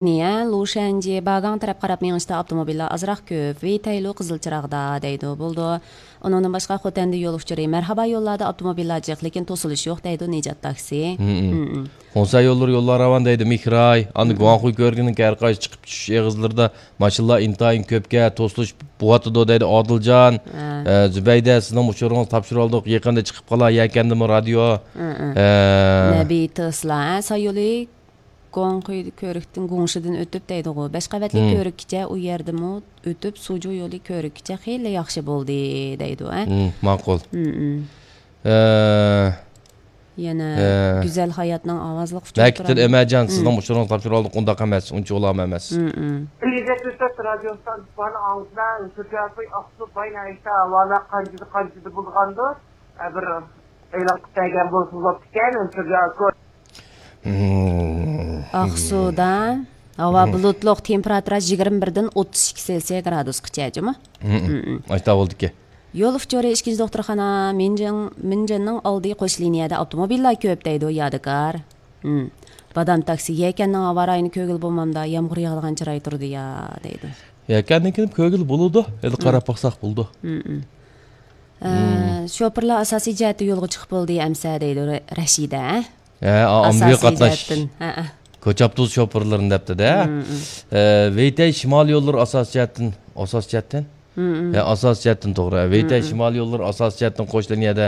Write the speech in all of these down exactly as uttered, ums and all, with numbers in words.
نىيە، لۇشەنجى، باگاڭ تەرەپ قاراپ مېڭىشتا ئاپتوموبىللار ئازراق كۆپ. ۋېيتەيلۇ قىزىل چىراغدا دەيدۇ. بولىدۇ. ئۇنىڭدىن باشقا خوتەندە يول ئۇچۇرى. مەرھابا يوللاردا ئاپتوموبىللار جىق، لېكىن توسۇلۇش يوق دەيدۇ نىجات تاكسى. مم. مم. خۇڭسەن يوللىرى يوللار راۋان دەيدۇ مىخراي. ئاندىن مم. گۇاڭخۇي كۆۋرۈكىنىڭ ھەر قايسى چىقىپ چۈشۈش ئېغىزلىرىدا ماشىنىلار ئىنتايىن كۆپكەن، توسۇلۇش بوۋاتىدۇ دەيدۇ ئادىلجان. ھە. ئە، زۇبەيدە، سىزنىڭ ئۇچۇرىڭىزنى تاپشۇرۇۋالدۇق. يېقىندا چىقىپ قالا، يەكەندىمۇ رادىيو. ھە، ھە. ئە، نەبى تېسلا، ھە، سايولى گۇاڭخۇي كۆۋرۈكتىن گۇڭشىدىن ئۆتۈپ دەيدىغۇ. بەش قەۋەتلىك مم. كۆۋرۈككىچە ئۇ يەردىمۇ ئۆتۈپ، سۇجۇ يولى كۆۋرۈككىچە خېلى ياخشى بولدى دەيدۇ، ھە. مم، ماقۇل. مم، مم. ئە، يەنە ئە، گۈزەل ھاياتنىڭ ئاۋازلىق ئۇچۇرى مەكىتتىن تۇرالمىدى. ئەمەجان، مم. سىزنىڭ ئۇچۇرىڭىزنى تاپشۇرۇۋالدۇق، ئۇنداق ئەمەس، ئۇنچە ئۇلام ئەمەس. مم، مم. ئۈچ يۈز يەتمىش تۆت رادىيو ئىستانسىسى بارنى ئاڭلىسىلەر، شۇ جايغا ئاقسۇ باينى ئىشتا ھاۋالار قانچىدە، قانچىدە بولغاندۇ، ھە، بىر ئېلان قىلىپ بەرگەن بولسا بوپتىكەن، شۇ جايغا. مم. ئاقسۇدا ھاۋا مم. بۇلۇتلۇق، تېمپېراتۇرا يىگىرمە بىردىن ئوتتۇز ئىككى سېلسىيە گرادۇسقىچە، جۇمۇ. مم. مم، مم. ئاشتا بولدىكەن. يول ئۇچۇرى ئىككىنچى دوختۇرخانا، مىنجىڭ، مىنجىننىڭ ئالدى قوش لىنىيەدە ئاپتوموبىللار كۆپ دەيدۇ، يادىكار. مم. بادام تاكسى، يەكەننىڭ ھاۋا رايىنى كۆرگىلى بولمامدا، يامغۇر ياغىدىغان چىراي تۇرىدۇ يا، دەيدۇ. يەكەندىن كېلىپ كۆرگىلى بولىدۇ. ئەمدى مم. قاراپ باقساق بولىدۇ. مم، مم. ئە، مم. شوپۇرلار ئاساسىي جەھەتتە يولغا چىقىپ بولدى ئەمسە، دەيدۇ رە-، رەشىدە. ھە، ئا-، ئاممىۋى ئاساسىي قاتناش. جەھەتتىن، ھە، ھە. كوچا ئاپتوبۇس شوپۇرلىرىنى دەپتۇ-دە. مم، مم. ئە، ۋېيتەي شىمالىي يوللىرى ئاساسىي جەھەتتىن، ئاساسىي جەھەتتىن؟ مم، مم. ھە، ئاساسىي جەھەتتىن توغرا. ھە، ۋېيتەي مم، مم. شىمالىي يوللىرى ئاساسىي جەھەتتىن قوش لىنىيەدە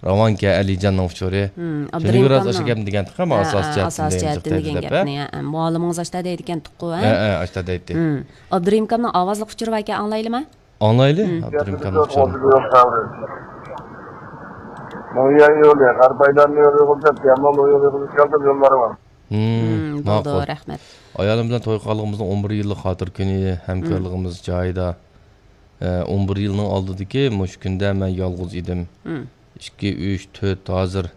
راۋانكەن، ئەلىجاننىڭ ئۇچۇرى. مم، شۇنى ئابدۇرېھىم بىراز كامنىڭ. ئاشۇ گەپنى دېگەنتىق، ھە، ھە، ئاساسىي ھە، جەھەتتىن ئاساسىي دېگەنتىق جەھەتتىن دەيدۇ دېگەن دەپ، ھە. گەپنى، ھە، ھە. مۇئەللىمىڭىز ئاشتا دەيدىكەنتۇققۇ، ھە؟ ھە، ھە، ئاشتا دەيتتى. مم. ئابدۇرېھىم كامنىڭ ئاۋازلىق ئۇچۇرى باركەن، ئاڭلايلىما؟ ئاڭلايلى، مم. ئابدۇرېھىم كامنىڭ ئۇچۇرىنى. مۇڭيەن يولى، غەربىي ئايلانما يولى بولسا، تيەنمۇن يولى بولسا، يوللار بار. مم، مم، بولدى، ماقۇل. رەھمەت. ئايالىم بىلەن توي قىلغىنىمىزنىڭ ئون بىر يىللىق خاتىرە كۈنى، ھەمكارلىقىمىز جايىدا. ئە، ئون بىر يىلنىڭ ئالدىدىكى مۇشۇ كۈندە مەن يالغۇز ئىدىم. مم. ئىككى، ئۈچ، تۆت، ھازىر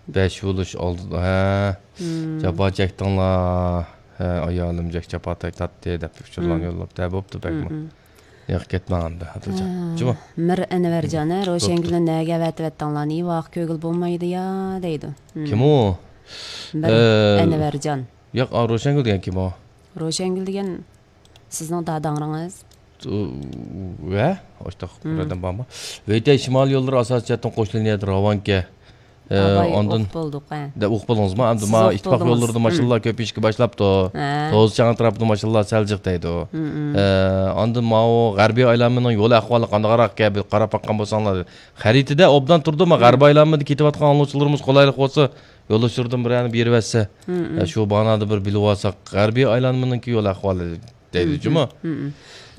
بەش بولۇش ئالدىدا. ھە. مم. جاپا چەكتىڭلار. ھە، ئايالىم جەك جاپا تارتتى دەپ ئۇچۇرلارنى مم. يوللاپتۇ. ھە، بوپتۇ بەكمۇ. مم، مم. ياق، كەتمەڭ ئەمدى، ئادىلجان. ھە، جۇمۇ. مىر ئەنۋەرجان، ھە، بوپتۇ. روشەنگۈلنى نەگە ئەۋەتىۋەتتىڭلار، نېۋاغا كۆرگىلى بولمايدۇ يا، دەيدۇ. مم. كىم ئۇ؟ مىر ئە، ئەنۋەرجان. ياق، ئا، روشەنگۈل دېگەن كىم ئۇ؟ روشەنگۈل دېگەن سىزنىڭ داداڭرىڭىز. ئۇ، ۋە؟ ئاشتاق مم. بىرەردىن بارمۇ؟ ۋېيتەي شىمالىي يوللىرى ئاساسىي جەھەتتىن قوش لىنىيەدە راۋانكەن. ئە، ئاۋاي، ئاندىن ئۇقۇپ بولدۇق، ھە. دە، ئۇقۇپ بولدىڭىزمۇ؟ ئەمدى سىز ما ئۇقۇپ ئىتتىپاق بولدىڭىز. يوللىرىدا مم. ماشىنىلار كۆپىيىشكە باشلاپتۇ. ھە. توزا چاڭ ئەتراپىدا ماشىنىلار سەل جىق دەيدۇ. مم، مم. ئە، ئاندىن ماۋۇ غەربىي ئايلانمىنىڭ يول ئەھۋالى قانداقراق ئىكەن، بىر قاراپ باققان بولساڭلار. خەرىتىدە ئوبدان تۇردۇما، مم. غەربىي ئايلانمىدا كېتىۋاتقان ئاڭلىغۇچىلىرىمىز قولايلىق بولسا، يول ئۇچۇرىدىن بىرەرنى بېرىۋەتسە. مم، مم. ئە، شۇ باغنادا بىر بىلىۋالساق، غەربىي ئايلانمىنىڭكى يول ئەھۋالى. دەيدۇ جۇمۇ. مم، مم.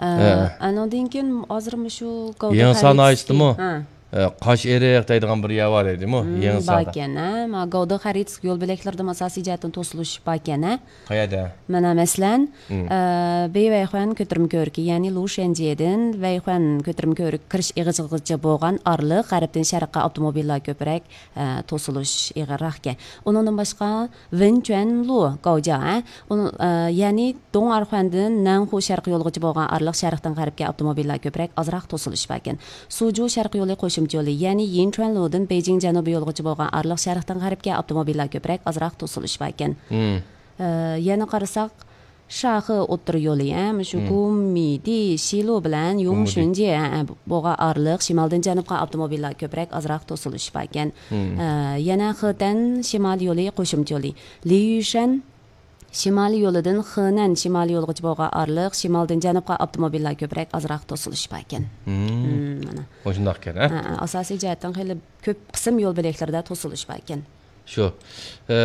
ئە، ھە. ئانىڭدىن كېيىن ھازىر مۇشۇ گاۋدې يېڭىسار خەرىتىسى. ناھىيىسىدىمۇ؟ ھە. ئە، قاش ئېرىق دەيدىغان بىر يەر بار ئىدىمۇ؟ مم، يېڭىساردا. باركەن، ھە. ما گاۋدې خەرىتىسى يول بۆلەكلىرىدىمۇ ئاساسىي جەھەتتىن توسۇلۇش باركەن، ھە. قەيەردە؟ مانا مەسىلەن، مم. ئە، بېيۋەيخۇەن كۆتۈرمە كۆۋرۈكى، يەنى لۇشەنجيېدىن ۋەيخۇەن كۆتۈرمە كۆۋرۈكى كىرىش ئېغىزىغىچە بولغان ئارىلىق غەربتىن شەرققە ئاپتوموبىللار كۆپرەك، ئە، توسۇلۇش ئېغىرراقكەن. ئۇنىڭدىن باشقا، ۋېنچۈەنلۇ، گاۋجيا، ئە، ئۇنىڭ، ئە، يەنى دوڭئارخۇەندىن نەنخۇ شەرقىي يولىغىچە بولغان ئارىلىق شەرقتىن غەربكە ئاپتوموبىللار كۆپرەك، ئازراق توسۇلۇش باركەن. سۇجۇ شەرقىي يولى قوشۇمچە يولى، يەنى يىنچۈەنلۇدىن بېيجىڭ جەنۇبىي يولىغىچە بولغان ئارىلىق شەرقتىن غەربكە ئاپتوموبىللار كۆپرەك، ئازراق توسۇلۇش باركەن. مم. ئە، يەنە قارىساق، شاخې ئوتتۇرا يولى، ھە، مۇشۇ مم. گۇممىدى، شىلۇ بىلەن يۇڭشۈنجى، ھە، ھە، بولغان ئارىلىق شىمالدىن جەنۇبقا ئاپتوموبىللار كۆپرەك، ئازراق توسۇلۇش باركەن. مم. ئە، يەنە خېتەن شىمالىي يولى قوشۇمچە يولى، لىيۈشەن شىمالىي يولىدىن خېنەن شىمالىي يولىغىچە بولغان ئارىلىق شىمالدىن جەنۇبقا ئاپتوموبىللار كۆپرەك، ئازراق توسۇلۇش باركەن. مم. مم، مانا. مۇشۇنداق ئىكەن، ھە؟ ھە، ھە، ئاساسىي جەھەتتىن خېلى كۆپ قىسىم يول بۆلەكلىرىدە توسۇلۇش باركەن. شۇ. ئە،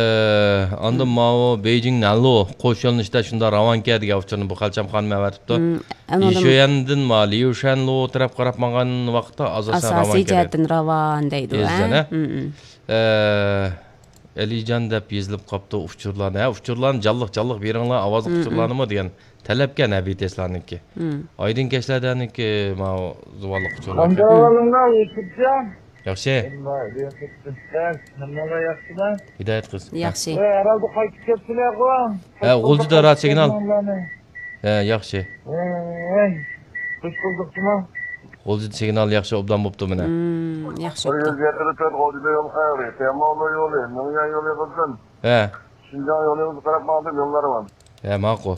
ئاندىن مم. ماۋۇ بېيجىڭ نەنلۇ قوش يۆنىلىشتە شۇنداق راۋانكەن دېگەن ئۇچۇرنى بۇ خەلچەم خانىم ئەۋەتىپتۇ. مم، ئانىڭدىن لىشۆيەندىن ما ليۇشەنلۇ تەرەپ قاراپ ماڭغان ۋاقىتتا ئاساسەن ئاساسىي راۋانكەن دەيدۇ. جەھەتتىن راۋان دەيدۇ، ھە؟ دەيسىزەن، ھە؟ مم، مم. ئە، ئەلىجان دەپ يېزىلىپ قاپتۇ ئۇچۇرلارنى. ھە، ئۇچۇرلارنى جانلىق، جانلىق بېرىڭلار، ئاۋازلىق مم، مم. ئۇچۇرلارنىمۇ دېگەن تەلەپكەن ھەبىتەسلارنىڭكى. مم. ئايدىن كەچلەردەنكى ماۋۇ زۇۋانلىق ئۇچۇرلاركەن. قانداق ئەھۋالىڭلار، يۈسۈپجان؟ ياخشى. ھەممىڭلار ياخشىما؟ ھىدايەت قىز. ياخشى. ھە، ھەرھالدا قايتىپ كەپسىلەرغۇ. ھە، غۇلجىدا رادىئو سىگنال. ھە، ياخشى. ھەي، خوش بولدۇقما؟ غۇلجىدا سىگنال ياخشى، ئوبدان بوپتۇ مانا. مم، ياخشى بوپتۇ. بىر يۈز يەتتە تۆت غۇلجىدا يول خەۋىرى. تيەنمۇن يولى، مىڭيەن يولى بولسۇن. ھە. شىنجاڭ يولىغا قاراپ ماڭدىم، يوللار بار. ھە، ماقۇل.